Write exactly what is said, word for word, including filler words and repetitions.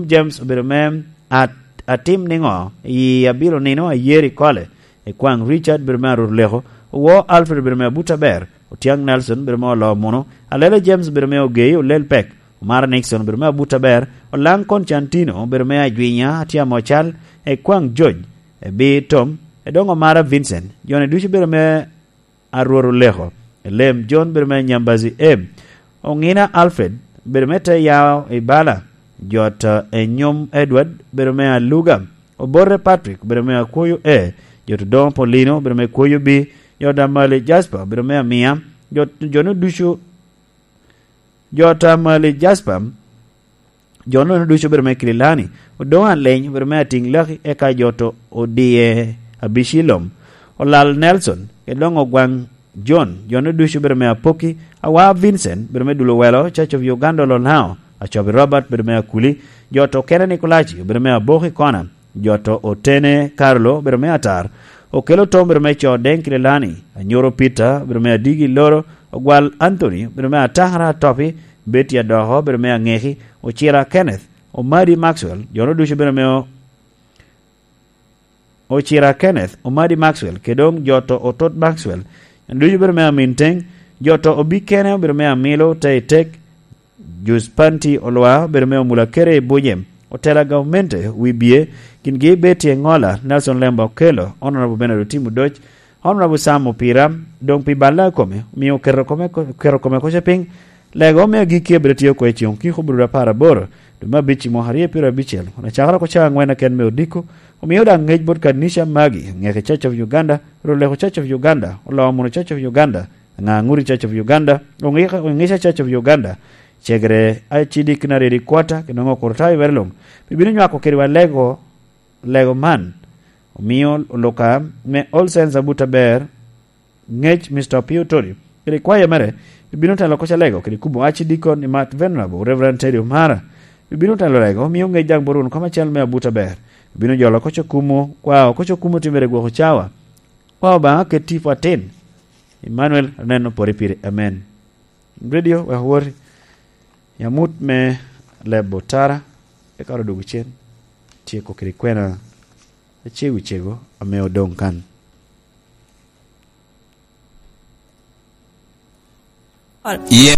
James obedo me atim ningo i abiro nino ayeri kole Ekwang Richard obedo me arut leko Owor Alfred obedo me abuta ber Otiang Nelson obedo me olo muno Alele James obedo me ogei olel pek Omara Nixon obedo me abuta ber Olang Constantino obedo me ajwinya atyamo cal Ekwang George Ebi Tom Edongo Omara Vincent John Educu obedo me arworo leko Elem John obedo me Nyambazi A Ongina Alfred obedo me te yao ibala Jot Enyom Edward obedo me Aluga Oborre Patrick obedo me Akwoyo A Jot Odongo Paulino obedo me Kwoyo B Jot Amali Jasper obedo me Amia Jot Jono Ducu Jot Amali Jasper Jono Ducu obedo me Kililani Odongo Aleny obedo me Ating Laki eka Jot Odie Abicilom Olal Nelson Edongo Gwang John Jono Ducu obedo me Apoki Awa Vincent obedo me Dulo Welo Church of Uganda Olonao Achobi Robert obedo me Akuli Joto Okene Nikolachi obedo me Aboki Kona Joto Otene Carlo obedo me Atar Okelo Tom obedo me Codeng Kililani Anyoro Peter obedo me Adigi Loro Ogwal Anthony obedo me Atahara Atopi Betty Adoko obedo me Angeki Ocira Kenneth Omadi Maxwell Jono Ducu obedo me Ocira Kenneth Omadi Maxwell Kedong Joto Otot Maxwell Ducu obedo me Aminteng Joto Obikene obedo me Amilo Teitek Juspanti Olwa obedo me Omula Kere Ibunye Otela Gaumente Wibie Kingi Betty Engola Nelson Lemba Okelo Honorable Bernard Otimu Doch Honorable Sam Opira Dong pi balla kome omiyo okero kome okero kome koce piny lego me agikki obedo tiyo kwe chieng kiko obedo apar aboro dwe me abic mwaka aryo piero abicel ona cakra ko cawa angwen aken me odiko omiyo dang ngec bot kanica magi Ngeke Church of Uganda Roleko Church of Uganda Oloo Muno Church of Uganda Nganguri Church of Uganda Ongisha Church of Uganda Cegre Archdeaconry Headquarter kinongo okurutayo iwero long bibino nywako kede wa lego lego man omiyo oluka me All Saints Abuta Ber ngec Mr. Opio Tori kede kwaya mere bibino telo koca lego kede kubo Archdeacon Imat Venerable Reverend Teddy Omara bibino telo lego omiyo ngec dang borun koma cal me Abuta Ber bibino jolo koca kumo kwao koca kumo timere gwoko cawa kwao banga ket tipo atin Emmanuel aneno pori pire amen radio wek wori yamut me lebo tara e karo dugu cen tieko kede kwena acego cego ame odong kan. Yen